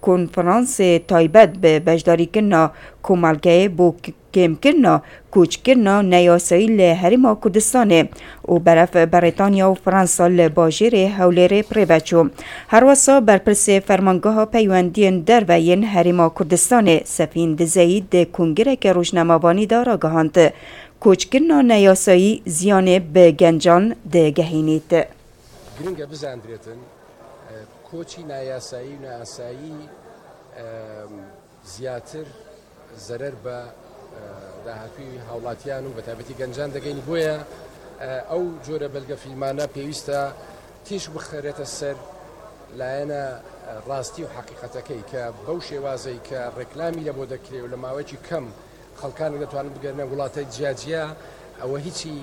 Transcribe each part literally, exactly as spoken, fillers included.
konferansê taybet bi beşdarîkirina komelgeyê bo k-, kêmkirina koçkirina neyasayî li Herêma Kurdistanê û beref Berîtanya û Fransa li bajêrê Hewlêrê bi rê ve çû. Herwesa berpirsê Fermangeha Peywendiyên Derve yên Herêma Kurdistanê Sefîn Dizeyî di kongireke rojnamevanî de ragihand, koçkirina neyasayî ziyanê bi gencan digehînît. Giring e bizandirêtin, e, koçî nayasayî û neasayî, e, زیاتر زەرەر بە، ئە، داهاتووی هاوڵاتیان و بە تایبەتی گەنجان دەگەین. بۆیە، ئە، ئەو جۆرە بەلگەفیلمانە پێویستە تیش بخرێتە سەر لایەنە، ئە، ڕاستی و حەقیقەتەکەی، کە بەو شێوازەی کە ڕێکلامی لە بۆ دەکرێ و لە ماوەیەکی کەم خەڵکانێک دەتوانن بگەرنە وڵاتە جیاجیا، ئەوە هیچی،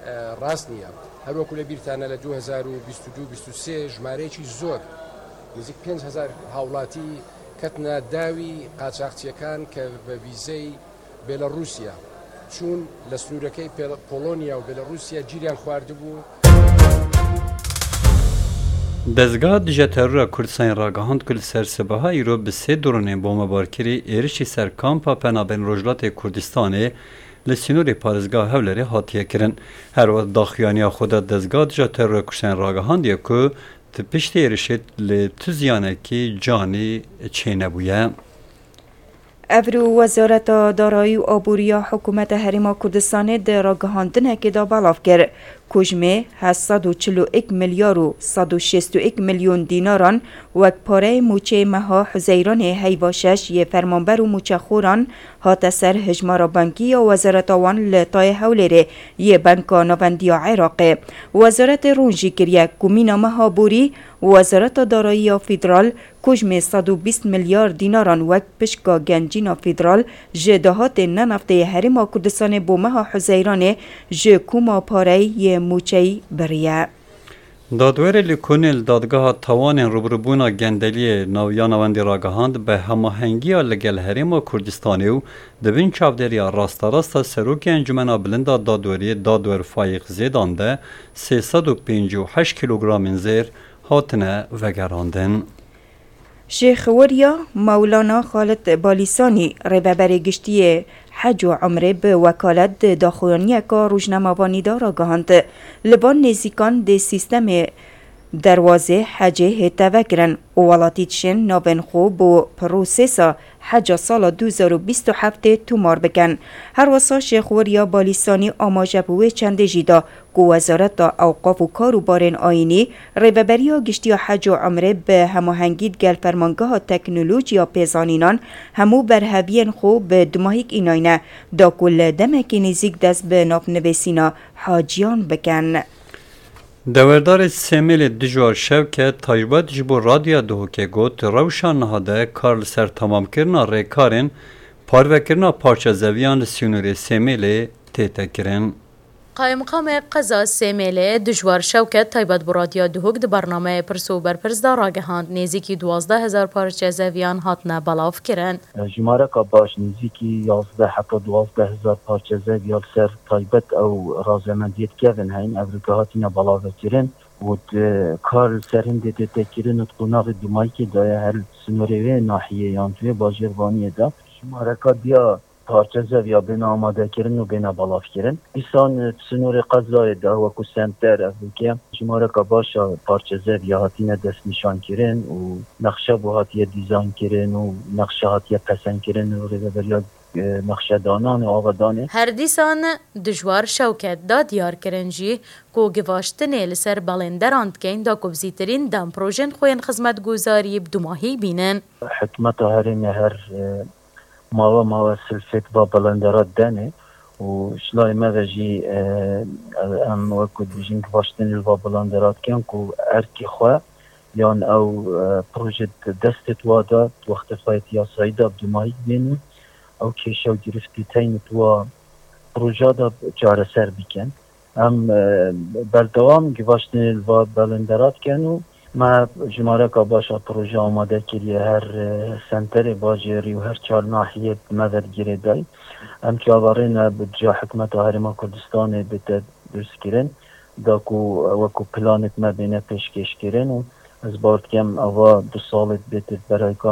ئە، ڕاست نییە. هەروەکو لە بیرتانە لە دوو هەزار و بیست و دوو بیست و سێ ژمارەیەکی زۆر، نزیک پێنج هەزار هاوڵاتی کەتنە داوی قاچاخچیەکان کە بە ڤیزەی بێلەڕووسیا چوون، لە سنوورەکەی پێڵ-، پۆڵۆنیا و بێلەڕووسیا گیریان خواردبوو. Dezgeha Dije Terora Kurdistanê ragihand ku li ser sibeha îro bi sê dronên bombebarkirî êrişî ser kampa penabên Rojhilatê Kurdistanê li sînorê parêzgeha Hewlêrê hatiye kirin. Her wexta daxuyaniya xwe de Dezgeha Dije Terora Kurdistanê ragihandiye ku di piştî êrişê li tu ziyanekî canî çênebûye. Evro Wezareta Darayî û Aborî ya Hikûmeta Herêma Kurdistanê di ragihandinekê de belav kir, ku ji mê heft sed û çil û yek milyar û sed û şêst û yek milyon dînaran wek pareyê mûçeyê meha Huzeyranê heyva şeş yê fermanber û mûçexoran hate ser hejmara bankî ya wezareta wan li tayê Hewlêrê yê Banka Navendî ya Iraqê. Wezaretê rûn jî kiriye ku mîna meha borî Wezareta Darayî ya Federal ku ji mê sed û bîst milyar dînaran wek pişka gencîna federal ji dahatên neneftê yê Herêma Kurdistanê bo meha Huzeyranê ji koma pareyê yê mûçeyî biriye. Dadwerê li Konê li Dadgeha Tawanên Rûbirûbûna Gendeliyê nav-, ya Navendî ragihand, bi hemahengiya li gel Herêma Kurdistanê û di bin çavdêriya rasterast a Serokê Encûmena Bilind a Dadweriyê Dadwer Fayîq Zêdan de sê sed û pêncî û heşt kîlogramên zêr hatine vegerandin. Şêxweriya Mewlana Xalid Balîsanî, rêveberê giştî yê hec û umrê bi wekalet di daxuyaniyeka rojnamevanî de ragihand, li van nêzîkan dê sîstemê derwazê hecê hête vekirin û welatî dişên navên xwe bo prosesa heca sala du hezar û bîst û heftê tomar bikin. Her wesa Şêxweriya Balîsanî amaje bi wê çendê jî da, ku Wezareta Ewqaf û Karûbarên Ayînî, Rêveberiya Giştî ya Hec û Umrê bi hemahengî digel Fermangeha Teknolojiya Pêzanînan hemû berheviyên xwe bi dumahîk înayne, da ku li demekî nêzîk dest bi navnivîsîna haciyan bikin. Dewerdarê Sêmêlê Dijwar Şewket taybet ji bo Radyoya Duhokê got, rewşa niha de kar li ser temamkirina rêkarên parvekirina parçezeviyan li sînorê Sêmêlê tête kirin. Qayimqamê qeza Sêmêlê Dijwar Şewket taybet bi Radyoya Duhok di bernameyê Pirs û Berpirs de ragihand, nêzîkî duwazdeh hezar parçezeviyan hatine belavkirin. Jimareka baş nêzîkî yazdeh heta duwazdeh hezar parçezeviya li ser taybet ew razemendiyê di kevin heyn, ev rike hatine belavekirin û di kar li ser hindê tête kirin û di qonaxê dumayîkê de ye, her li sinorê wê nahiyê yan di wê bajêrvaniyê de. Jimareka diya parçezev ya bêne amadekirin û bêne belavkirin. Dîsan, e, di sinorê qezayê de wekû senter ev rike jimareka baş a parçezev ya hatine destnîşankirin û nexşe bo hatiye dîzaynkirin û nexşe hatiye pesendkirin û rêveberiya, e, nexşedanan û avadanê. Her dîsan Dijwar Şewket da diyar kirin jî ku givaştinê li ser belenderan dikeyn da ku bi zîtirîn dem projên xwe yên xizmetguzarî bi dumahî bînin. Hikûmeta herêmê her, e, mawe mawe silfêt va belenderat denê û ji layê me ve jî, e, em wekû dibêjin givaştinê li va belenderat dikin ku erkê xwe yan ew, e, proje di destê wa de di wextê xwe yê yasayî de bi dumahîk bên û ew kêşe û girîftê teyn di wa proja de çareser bikin. Em, e, berdewam givaştinê li va belenderat dikin û me jimareka baş a proje amade kiriye. Her, e, senterê bajêrî û her çar nahiyê me ve girêdayî. Em çaverê ne bi ca hikûmeta Herêma Kurdistanê bête durskirin, da ku, e, wekû planê me bêne pêşkêşkirin û ez bawer dikim eva du salê bête berayka